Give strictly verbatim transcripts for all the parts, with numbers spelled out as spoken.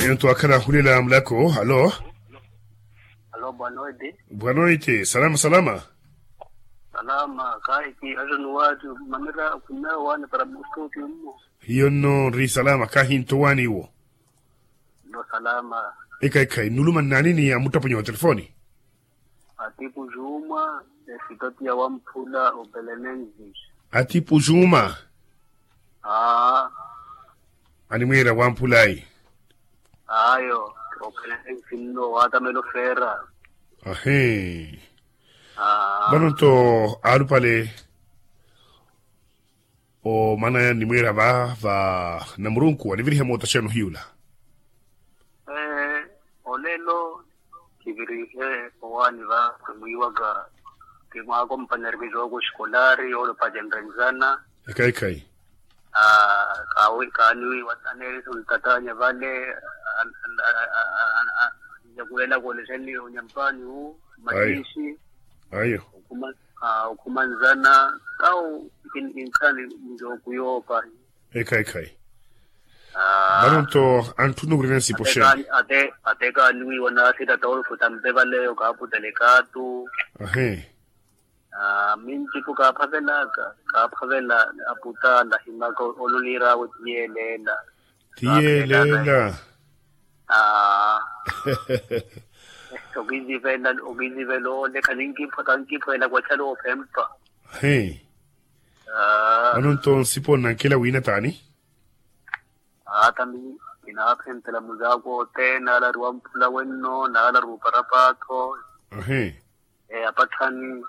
Ento akhala ahulela mulako. Alo. Alo bwanoiti. Bwanoiti salama salama. Salama kaiki ajo nuwati. Mamira kumewa wani para mustuti mmo. Hiyo nno nri salama kahinto wani iwo. Nno salama. Ekaikhayi nuluma nnani ni amuttaponya wa telefoni? Atipu juma. Esitoti ya wamphula opelenenzi. Atipu juma. Aa. Animweera wamphulayi. Ayo. Opelenenzi nno watamela ofeera. Ahi. Aa. Vano nto alupale. Omanaya nimwiira va va namurunku anivirihe mootaxeno hiyula. Olelo kivirihe owaani va kimwiiwaka kimwaakompanyari kizooko xikolaari yoolopa jenrenzana. Ekhayi ekhayi. Kaaniwiiwa aneeriso ntatanya vale. Nyakuwelaka olexeni onyampani wu matiixi. Ayo. Okhumanzana kawo kinkhani njooku yoopa. Ekhayi ekhayi. Vano nto antthuna ovirina nsipo xeeni? Ate kaaniwiiwa naasita tolfo tampe valeyo kaaputele kaatu. Ahi. Mintipo kaaphavelaka kaaphavela. Aputala himaka oloniir'awe ti yeeleela. Ti yeeleela. Aa. Okizivela okizivela ole khankiphwela khankipwela kwachala ophempa. Hi. Vano nto nsipo nnankela wiina taani? Aa tambi kinaaphentela muzaako othene naala ari wamphula wenno naala ari uparapatho. Ahi. Apatthani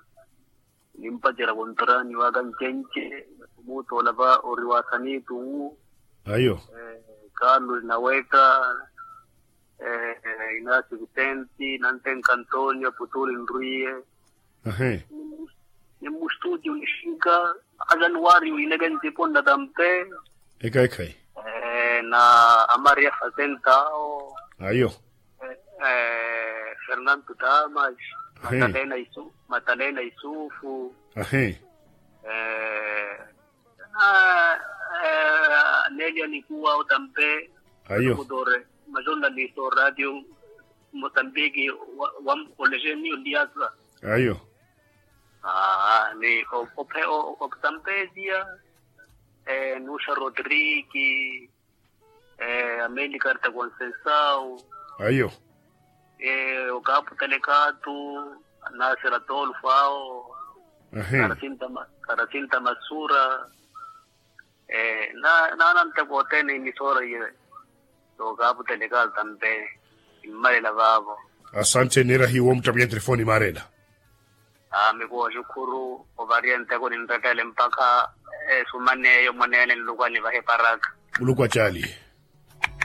nimpacerya kontorani waka ncenci. Muutoola va ori wa sanitu wu. Ayo. Carlos naweka. Inasi vicenti nantenka antonio putuli nrwiye. Ahi. Ni mmustuti unixinka ajanuwari wiineke ntipo nnatampe. Ekhayi ekhayi. Na amaria fasentao. Ayo. Fernanto damas. Matalena isufu. Ahi. Nelia nikuwa otampe. Ayo. Kutore majonaliso radio mosambiki. Wamkolejeni oliasa. Ayo. Ni otampesia. Nuxa rodriki. Amelikarta concensao. Ayo. Okaputelekatu. Nasira tolfao. Karasinta masura. Naananteko othene imisora iye. Okaputelekatu tampe. Immalela vaavo. Asante neera hiwo muttapinya telefoni maarela. Mikuwo xukhuru ovariya nteko ninrettele mpakha esumaneyo mwaneene nlukwa nivahe paraka. Muluku acaali.